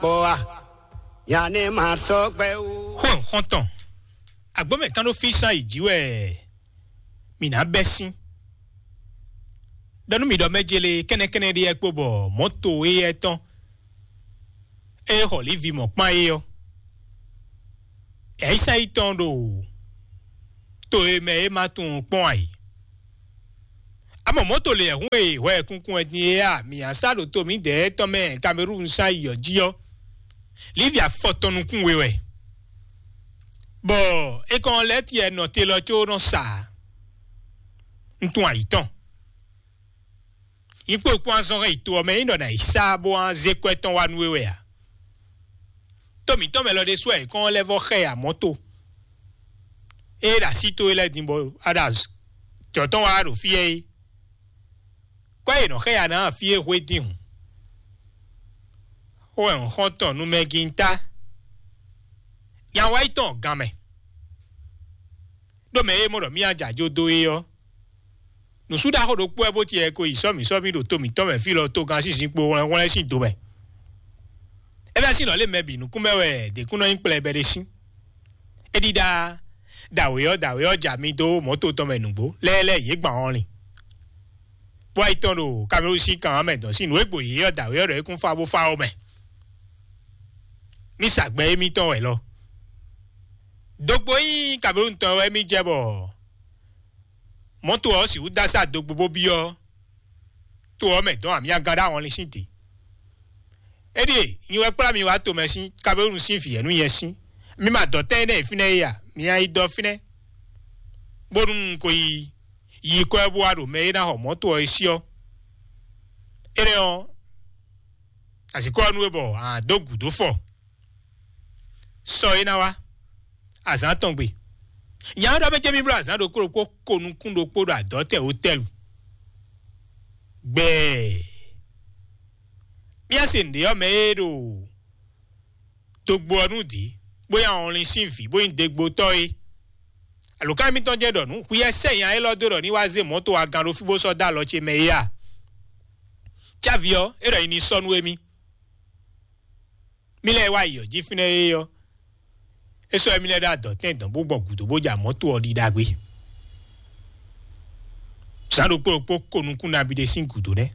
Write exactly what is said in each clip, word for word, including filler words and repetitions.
Boa, yanni ma sɔgbe wu. Xɔn xɔntɔn, agbɔmɛ kan ɖo fi san yi ji wɛ. Mina bɛ sin. Dɔnú mi ɖɔ mɛ jele kɛnɛkɛnɛ ɖe yɛ kpo bɔ mɔto e yɛ tɔn. E xɔ livi mɔ kpan e yɔ. Ɛyisa yi tɔn ɖo to e mɛ e ma tunwun kpɔn ayi. Amɔ mɔto le ɛhún e hwɛ kunkun wɛ din e a mi a sa ɖo to mi dɛ tɔn mɛ Kamerun sa yi ɔ ji ɔ. Livi afɔ tɔn nukún we wɛ. Bɔ e kɔn lɛ tiɛ nɔ te lɔ có nɔ sa. Un tún ayi tɔn. Nyí kpó kpó azɔn hɛn yi to ɔ́ mɛ nyí ɖɔ nǎ yi sá bó wá zé kwɛ́ tɔn wá nú we wɛ a? Tó mǐtɔn mɛ lɔ ɖésú wɛ è kɔn lɛ́ vɔ́ xɛ ya mɔ̌ to. Ée ɖo así towe lɛ́ɛ din bɔ a ɖo jɔ̌ tɔn wá ɖo fí ɛ é. Kwɛ́ e nɔ xɛ ya ná fí é hwe din hǔn. Xó wɛ un xɔ́n tɔn nú mɛ gíntá. Nya wá yi tɔn gan mɛ. Ɖó mɛ e mɔ ɖɔ mía jɛ ajo dó é ɔ́, nǔsú ɖaxó ɖokpó wɛ bó tiɛ ko yi sɔ́ mǐ sɔ́ mì ɖo to mǐtɔn mɛ fí lɔ togán sín zinkpo hwlɛ́nhwlɛ́n sín do mɛ. É fɛ́ sín nɔ lé mɛ bǐ nukún mɛ wɛ děkúnɔ nyí kplɛbɛ ɖé sín. É ɖíɖá dǎwe ɔ́ dǎwe ɔ́ ja mi dó mɔ̌to tɔn mɛ nǔgbó lɛ́ɛ lɛ́ɛ yě gban ɔ́ lin. Bó wá yi tɔn ɖo Kamerun sín kan ɔ́ mɛ dɔn sín nǔ e gbo yě ɔ́ dǎwe ɔ́ ɖɔ é kún fá bó fá ɔ́ mɛ. Mí sa gbɛ émítɔn wɛ lɔ. Dogbo nyí Kamerun tɔn wɛ mí jɛ bɔ mɔ̌to ɔ́ sixú dó asá dogbo bó byɔ́ to ɔ́ mɛ dɔn amyagán ɖó ahɔnlin sín te. Éɖíe nyi wɛ kplá mi wá tomɛ sín Kamerun sín vǐ ɛ́ nú nyɛ sín. Mi ma dɔ tɛn énɛ́ e fínɛ́ é a? Mi a yi dɔ fínɛ́, bónú un ko yi yi kɔ́ ɛ bó wá ɖo mɛ e ná xɔ mɔ̌to ɔ́ é sí ɔ́. Énɛ́ ɔ́, azǐkɔ ɔ́ nú we bɔ a dó gǔdo fɔ. Sɔ é ná wá azǎn tɔn gbe. Nya ɔ́ ɖɔ mɛ jɛ mì bló azǎn ɖokpó ɖokpó ko nukún ɖokpó ɖo adɔ̌tɛn wotɛlu. Gbɛɛ. Mía se nǔɖé ɔ́ mɛ e ɖo dogbo ɔ́ nú dǐ, bó nyí awɔnlin sín vǐ, bó nyí degbotɔ́ é. Alǒkan émítɔn jɛ́n ɖɔ nǔ, hwi ɛ sɛ nya élɔ́ dó ɖɔ ní wá zé mɔ̌to wá gán ɖó fí bó sɔ́ dó alɔ ce mɛ é a? Cávi ɔ́, é ɖɔ nyi ní sɔ́ nú émí. Mí lɛ́ɛ wá yi ɔ̌ jí fínɛ́ é ɔ́, é sɔ́ émí lɛ́ɛ ɖó adɔ̌tɛn dɔn bó gbɔ gǔdo bó ja mɔ̌to ɔ́ ɖi ɖagbe. Zǎn ɖokpó ɖokpó ko nukún nabí ɖé sín gǔdo nɛ́.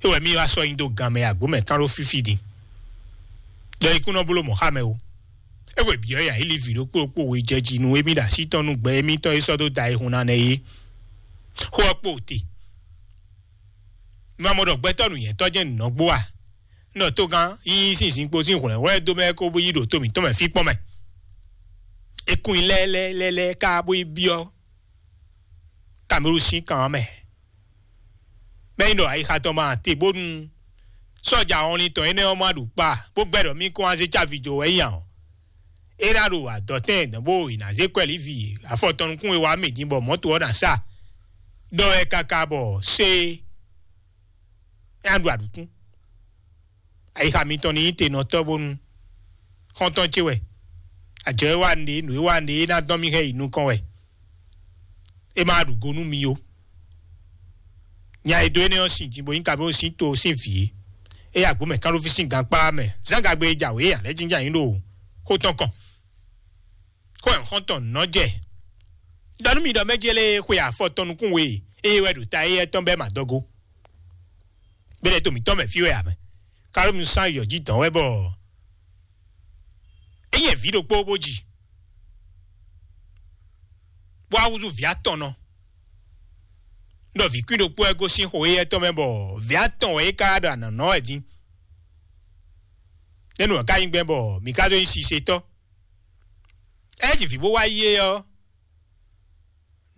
É wɛ mí wá sɔ́ nyi dó gan mɛ agbǒ mɛ kán ɖó fífí din. Ɖɔ ikú nɔ bló mɔ̌ xá mɛ ó. É hwe bǐ ɔ́, yǎ yi li vǐ ɖokpó ɖokpó we jɛ jí nú émí ɖo así tɔn nú gbɛ émítɔn e sɔ́ dó da ayihun ná nɛ́ é. Xó ɔ́ kpo te. Mi ma mɔ ɖɔ gbɛtɔ́ nǔnywɛ́tɔ́ jɛ́n nǔ nɔ gbó a? Un ɖɔ togán yíyí sín zinkpo sín hwlɛ̌nhwlɛ́n dó mɛ kó bó yi ɖo to mǐtɔn mɛ fí kpɔ́n mɛ. É kún nyi lɛ́lɛ́lɛ́lɛ́ ká bó yi byɔ́ Kamerun sín kan ɔ́ mɛ. Mɛ nyi ɖɔ ayixa tɔn ma te bónú sɔ́ja ɔnlin tɔn énɛ́ ɔ́ ma ɖu kpa bó gbɛ́ ɖɔ mí kɔn wá zé cávi jó wɛ nyi ǎ ɔ́, é ná ɖo adɔ̌tɛn dɔn bó è nǎ zé kwɛ́ lǐvi afɔ tɔn nukún e wá mì din bɔ mɔ̌to ɔ́ ná sa. Ɖɔ wɛ káká bɔ sé é ná ɖu aɖǔkún. Ayixa mitɔn ní nyí tenɔtɔ́ bónú xɔ́ntɔn ce wɛ. Ajɔ e wa nǔɖé, nǔ e wa nǔɖé é ná dɔn mì hɛn yi nukɔn wɛ. É ma ɖu go nú mi ó. Nya e dó énɛ́ ɔ́ sin din bó nyí Kamerun sín to sín vǐ é. É yi agbǒ mɛ kánɖóví sín gankpá mɛ. Zán gagbe e jǎwe é ǎ lɛ́ jínjɔ́n ayǐ ɖo xó tɔn kɔn. Xó ɛ xɔ́ntɔn nɔ jɛ. Ɖɔ nú mi ɖɔ mɛ jɛ lé xwe afɔ tɔn nukún we eye wɛ ɖo ta éyɛ́ tɔn bɛ́ ma dɔgo. Bɛ́lɛ́ to mǐtɔn mɛ fí wɛ ǎ mɛ. Kamerun sán yɔ jí dɔn wɛ bɔ é yɛ vǐ ɖokpó bó ji. Bó wá húzú vǐ atɔn nɔ. Ɖɔ vǐ kwín ɖokpó wɛ gosín xo éyɛ́ tɔn mɛ bɔ vǐ atɔn wɛ é ka ɖo anɔ̌nɔ wɛ dín. Nɛ́ nǔ ɔ́ ka nyí gbɛn bɔ mǐ ka dó nyí sisetɔ́? É ji vǐ bó wá yí é ɔ́,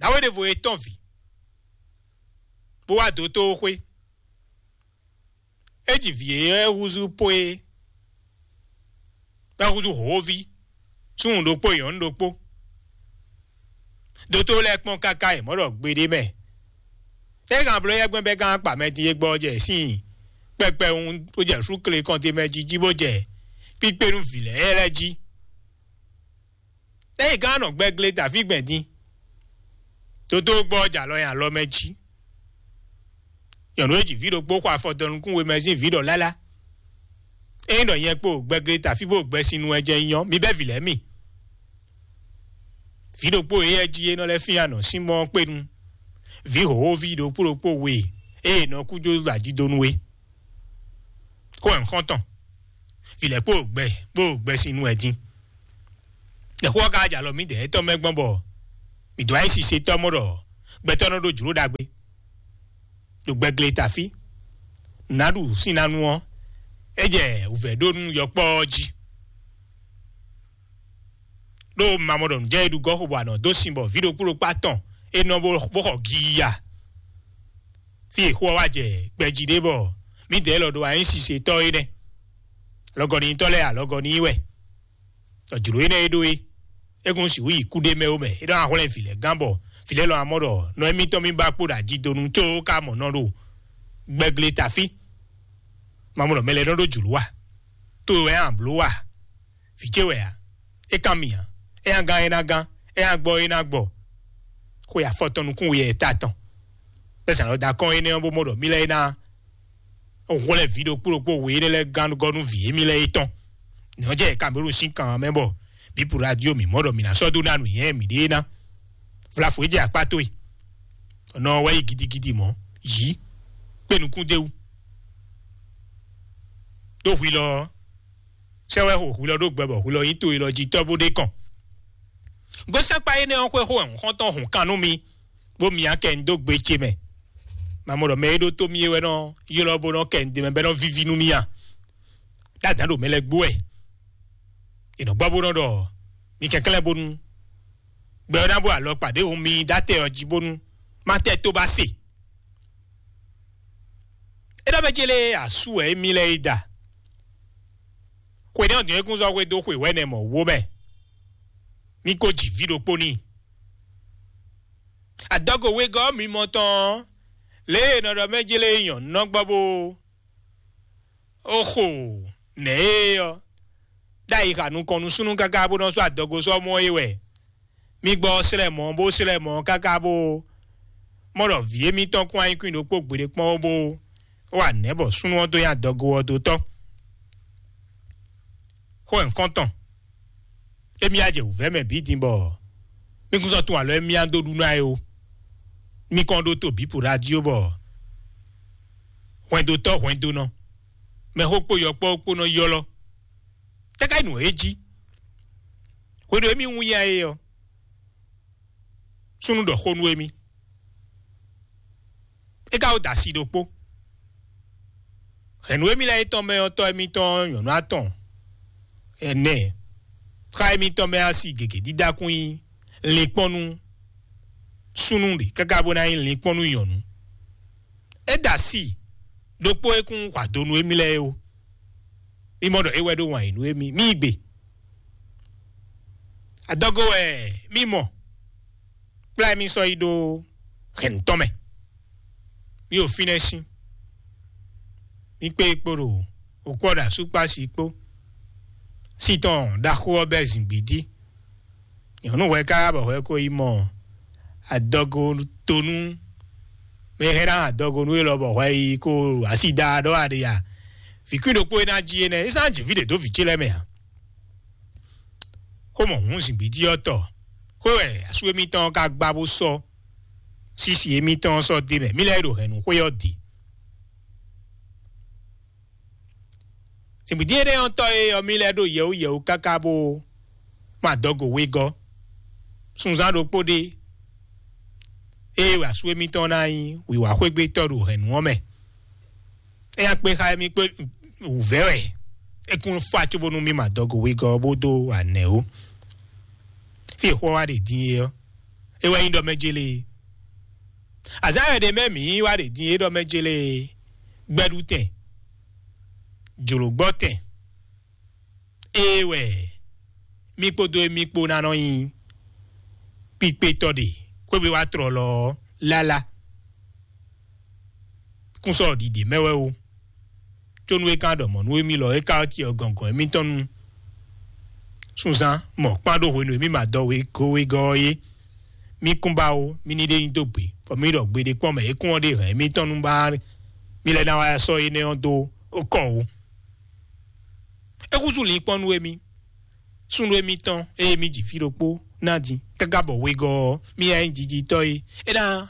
nǎwe ɖěvo e tɔ́n vǐ, bó wá dó tó xwé. É ji vǐ e é húzú pó é, bɔ é húzú hǒví, súnnu ɖokpó nyɔ̌nu ɖokpó. Dotó lɛ́ɛ kpɔ́n káká yě mɔ ɖɔ gbeɖé mɛ. É hɛn abló yɛ́gbɛ́n bɛ́ gán akpa mɛ din e gbɔ jɛ sín kpɛkpɛwun bó jɛ súkle kɔnte mɛ jí jí bó jɛ kpíkpé nú vǐ lɛ́ɛ lɛ́ɛ jí. Ényí gán nɔ gbɛgle dǎví gbɛn din, dodó gbɔ jɛ alɔ nyi alɔ mɛ jí. Nyɔ̌nu e ji vǐ ɖokpó xɔ afɔ dɔnukún we mɛ sín vǐ ɖɔ lálá. Ényí ɖɔ nyɛ kpo gbɛglé tafí bó gbɛsin nu wɛ jɛ nyɔ, mi bɛ́ vǐ lɛ́ɛ mi. Vǐ ɖokpó e yɛ jí é nɔ lɛ́ fín anɔ sín mɔ kpénu. Vǐ hǒhóví ɖokpó ɖokpó we e è nɔ kú jó ɖo ajidonu é. Xó wɛ un xɔ́n tɔn. Vǐ lɛ́ɛ kpo gbɛ kpo gbɛsin nu wɛ dín. Nɛ̌ xó ɔ́ ka jɛ alɔ mǐdɛɛ tɔn mɛ gbɔn bɔ mǐ dó wá nyí sisetɔ́ mɔ ɖɔ gbɛtɔ́ nɔ ɖó jlǒ ɖagbe ɖo gbɛgle tafí. Nǔ ná ɖu sín ná nu ɔ́, é jɛ wǔvɛ́ ɖó nú yɔkpɔ́ ɔ́ jí. Ɖó mamɔ ɖɔ nǔjɛ e ɖu gɔ́ xo bɔ anɔ dó sin bɔ vǐ ɖokpó ɖokpó atɔn é nɔ bó bó xɔ giya. Fí e xó ɔ́ wá jɛ gbɛjí ɖé bɔ mǐdɛɛ lɔ ɖo wá nyí sisetɔ́ é nɛ́. Alɔgɔnitɔ́ lɛ́ɛ alɔgɔni wɛ. Ɖɔ jlǒ énɛ́ e ɖó é, é kún sixú yi kúɖé mɛ ó mɛ. É ɖɔ ahwlɛ́n vǐ lɛ́ɛ gán bɔ vǐ lɛ́ɛ lɔ amɔ ɖɔ nɔ émítɔn mì ba kpo ɖo ajidonu có ka mɔ nɔ ɖo gbɛgle tafí. Mamɔ ɖɔ mɛ lɛ́ɛ nɔ ɖó jlǒ a? To wɛ a blǒ a? Vǐ ce wɛ a? É kan mì ǎ. É nya gán é ná gán, é nya gbɔ é ná gbɔ. Xwe afɔtɔn nukún we yɛ ta tɔn. Bɛ́ zǎn lɔ da kɔn énɛ́ ɔ́ bó mɔ ɖɔ mí lɛ́ɛ é ná hwlɛ́n vǐ ɖokpó ɖokpó we énɛ́ lɛ́ɛ gán gɔ́ nú vǐ émí lɛ́ɛ é tɔn. Nɛ̌ ɔ́ jɛ Kamerun sín kan ɔ́ mɛ bɔ bǐ radio mǐ mɔ ɖɔ mǐ ná sɔ́ dó ná nǔnywɛ́ mǐɖée ná. Vlafo é jɛ akpá towe. Nɔ ɔ́ wɛ yi gidigidi mɔ̌. Yǐ. Kpé nukún d'é wú. Ɖó hwi lɔ ɔ́, sɛ́ wɛ xo hwi lɔ ɖó gbɛ bɔ hwi lɔ nyí to e lɔ jí tɔ́ bó ɖe kɔn. Gosɛ́nkpa énɛ́ ɔ́ xwé xó wɛ xɔ́ntɔn hǔn kan nú mi, bó myá kɛ mi dó gbe ce mɛ. Mamɔ ɖɔ mɛ e ɖó tó mì é wɛ nɔ ylɔ́ bó nɔ kɛ mi d'é mɛ bɔ é nɔ víví nú mì a? Ɖó adǎn ɖo mɛ lɛ́ɛ gbó wɛ. È nɔ gbɔ bó nɔ ɖɔ mi kɛnklɛ́n bónú gbɛ ɔ́ ná bó alɔ kpa ɖěhun mi dó atɛ ɔ́ jí bónú má tɛ tó ba se. É ɖɔ mɛ ce lée asú wɛ émí lɛ́ɛ yi da. Xwe nɛ́ ɔ́ dɔn é kún zɔ́ xwedó xwe wɛ̌nɛ mɔ̌ wó mɛ. Mí ko ji vǐ ɖokpó n'i. Adɔgo wegɔ́ mimɔ tɔn ɔ́, lě e è nɔ ɖɔ mɛ jlé nyɔ̌nu nɔ gbɔ bó ó xo nɛ̌ é ɔ́, ɖ'ayǐ xa nukɔn nú súnnu káká bó nɔ́ sɔ́ adɔgo sɔ́ mɔ é wɛ. Mi gbɔ slɛ́ mɔ̌ bó slɛ́ mɔ̌ káká bó mɔ ɖɔ vǐ émítɔn kún anyíkwín ɖokpó gbeɖé kpɔ́n ó bó wa nɛ̌ bɔ súnnu ɔ́ dó nyi adɔgo ɔ́ dó tɔ́. Xó nyǐkɔ́ntɔn, émí á jɛ wǔvɛ́ mɛ bǐ din bɔ mí kún sɔ́ tún alɔ émí á dó ɖu ná é ó. Mí kɔn ɖó to bǐ po ɖo ají ó bɔ hwɛndotɔ́ hwɛndonɔ, mɛxó kpó yɔkpɔ́ kpó nɔ ylɔ́. Tɛ́ ká nyí nǔ e jí? Hwenu e mí wún ya é ɔ́, súnnu ɖɔ xó nú émí. É ka wó da asi ɖokpó. Hɛ̌nnu émí lɛ́ɛ é tɔn mɛ ɔ́, tɔ́ émítɔn nyɔ̌nu atɔn ɛnɛ, xá émítɔn mɛ asi gěgé dídá kún nyí linkpɔ́n nú súnnu ɖě káká bó ná nyí linkpɔ́n nú nyɔ̌nu. É da asi ɖokpó é kún hwa do nú émí lɛ́ɛ é ó. Mí mɔ ɖɔ é wɛ ɖó wǎn yí nú émí. Mí yi gbe. Adɔgo wɛ mí mɔ. Kplá mí sɔ́ yi ɖó hɛ̌nnu tɔn mɛ. Mí ɖo fínɛ́ sín. Mí kpé kpo ɖo òkpɔ́ ɖo asúkpási kpó. Sí tɔn ɖaxó ɔ́ bɛ́ zǐngbídí. Nyɔ̌nu hwɛ káká bɔ hwɛ ko yi mɔ adɔgo tonu. Mɛ hɛn ná adɔgo nú élɔ́ bɔ hwɛ yi ko asi da ɖɔ aɖe ya. Vǐ kwín ɖokpó e ná jí énɛ́, é sán jǐ fí ɖě dó vǐ ce lɛ́ɛ mɛ ǎ. Xó mɔ hǔn zǐngbídí ɔ́ tɔ. Xwé wɛ asú émítɔn ɔ́ ka gbá bó sɔ́. Sísi émítɔn ɔ́ sɔ́ dé mɛ. Mí lɛ́ɛ ɖo hɛ̌nnu xwé ɔ́ dě. Zǐngbídí énɛ́ ɔ́ tɔ e ɔ́ mí lɛ́ɛ ɖo yɛwú yɛwú káká bó ma dɔgo wegɔ́. Sunzán ɖokpó ɖé. Ée wɛ asú émítɔn ná nyí wǐwá xwégbétɔ́ ɖo hɛ̌nnu ɔ́ mɛ. É nya kpé xá émí kpé wǔvɛ́ wɛ. É kún fá cóbónú mí ma dɔgo wegɔ́ bó dó anɛ̌ ó. Fí e xó ɔ́ wá ɖe din é ɔ́, é wɛ nyí ɖɔ mɛ jélé. Azǎn wɛ ɖě mɛ mǐ wá ɖe din é ɖɔ mɛ jélé. Gbɛɖutɛn, jlǒgbɔ́tɛn, ée wɛ mí kpódó émí kpó ná nɔ nyi kpíkpétɔ́ ɖe xwé wá tlɔlɔ ɔ́ lálá. Kún sɔ́ ɖiɖe mɛ wɛ ó. Có nú é ka ɖɔ mɔ̌ nú émí lɔ é ka cyɔ gɔ̌ngɔ́n émítɔn nu. Sunzán mɔ kpán ɖó hwenu e mí ma dɔ wegɔ́ wegɔ́ ɔ́ é. Mí kún ba ó, mí ní ɖe nyi dó gbe, bɔ mí ɖɔ gbeɖé kpɔ́n mɛ é kún ɔ́ ɖe hɛ̌n émítɔn nú ba mí lɛ́ ná wá sɔ́ énɛ́ ɔ́ dó kɔ ó. Kúzú lǐnkpɔ́n nú émí, súnnu émítɔn e émí ji fí ɖokpó ná din, káká bɔ wegɔ́ ɔ́, mí yá nyí jijitɔ́ é. É ná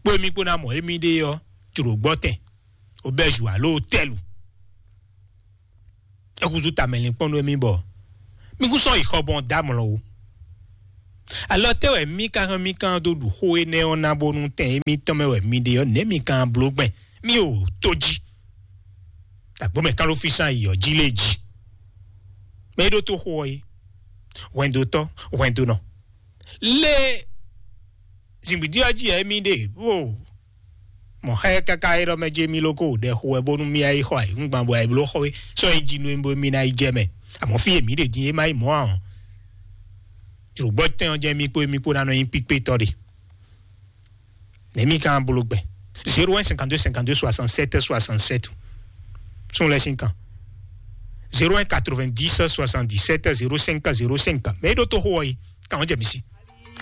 kpó émí kpó ná mɔ émí ɖe ɔ́, jlǒ gbɔ́tɛn, obɛ́zu alo tɛ́lu. É húzú tamɛ lǐnkpɔ́n nú émí bɔ mí kún sɔ́ yi xɔ gbɔn dó amlɔ ó. Alɔ tɛ́ wɛ mí ka hɛn mí kan dó ɖu xó énɛ́ ɔ́ ná bónú tɛn émítɔn mɛ wɛ mi ɖe ɔ́, nɛ̌ mi kan bló gbɛn? Mí o tó jí. Agbɔ̌ mɛ kán ɖó fí sán yi ɔ́ jí lé jí. Mɛ e ɖó tó xó ɔ́ é, hwɛndotɔ́, hwɛndonɔ. Lé zǐngbídí ɔ́ jí ɛ mí ɖe, ó mɔ xá ɛ káká é ɖɔ mɛ jɛ mí lóko ɖɛ xo wɛ bónú mí ayé xɔ ayǐhúngban bɔ ayé bló xɔ é sɔ́ é jí nú é bó mí ná yi jɛ mɛ. Àmọ́ fí èmí ɖe dín é má yi mɔ̌ ǎ ɔ́, jlǒgbɔ́ tɛn ɔ́ jɛ mí kpó émí kpó ná nɔ nyí píkpétɔ́ ɖe. Nɛ̌ mí kan bló gbɛn? Zéro un cinquante-deux cinquante-deux soixante-sept soixante-sept. Sún lɛ sín kan. Zéro un quatre-vingt-dix soixante-dix-sept zéro cinq zéro cinq. Mɛ é ɖó tó xó ɔ́ yi, kan ɔ́ jɛ mí sí.